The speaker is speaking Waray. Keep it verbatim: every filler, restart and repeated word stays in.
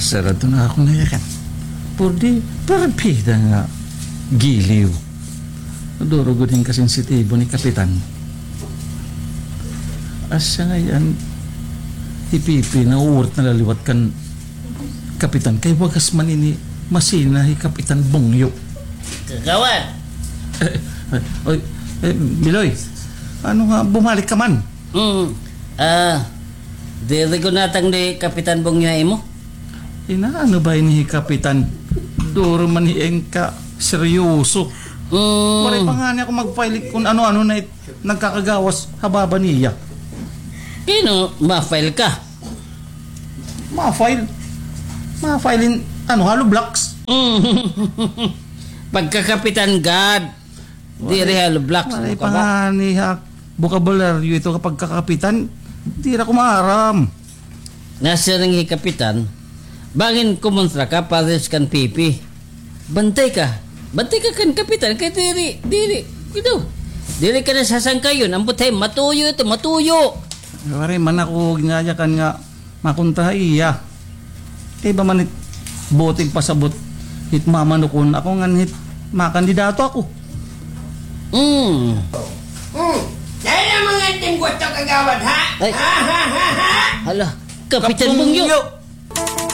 Sarado na ako na yakan. Purdi, perpida nga giliw. Duro gud hin kasensitibo ni Kapitan. Asya ngay-an, hi Pipi, nauurit na la liwat kan Kapitan. Kay wagas man ini masina hi Kapitan Bungyo. Kagawad! Eh, eh, oy, eh, Biloy, ano nga, bumalik ka man? Hmm. Ah, diri ko natang ni Kapitan Bungyo imo? Inaano ba ini hi Kapitan? Duro man hi Engka, seryoso. Hmm. Waray pa ngani ako mag-file kun ano-ano na it-, nagkakagawas ha baba niya. Kay ano, ma-file ka? Ma-file? Ma-file in, ano, hollow blocks? Hmm. Pagkakapitan gad. Diri hollow blocks, waray pa ngani ha bokabularyo ito kapag kakapitan. Diri ako maaram. Nasiring hi Kapitan, bangin kumontra ka pares kan Pipi. Bantay ka. Bantay ka kan Kapitan kay diri, diri, ito. Diri ka na sasangkayon. Ambot hay matuyo ito, matuyo. Waray man ako ginayakan nga makontra ha iya. Kay ba man it buot igpasabot hit mamanukon ako ngan hit makandidato ako. Hmm. Hmm. Dahil ang mga anting gusto kagawad, ha? Ay. Ha, ha, ha, ha? Hala, Kapitan Bungyo. Bungyo.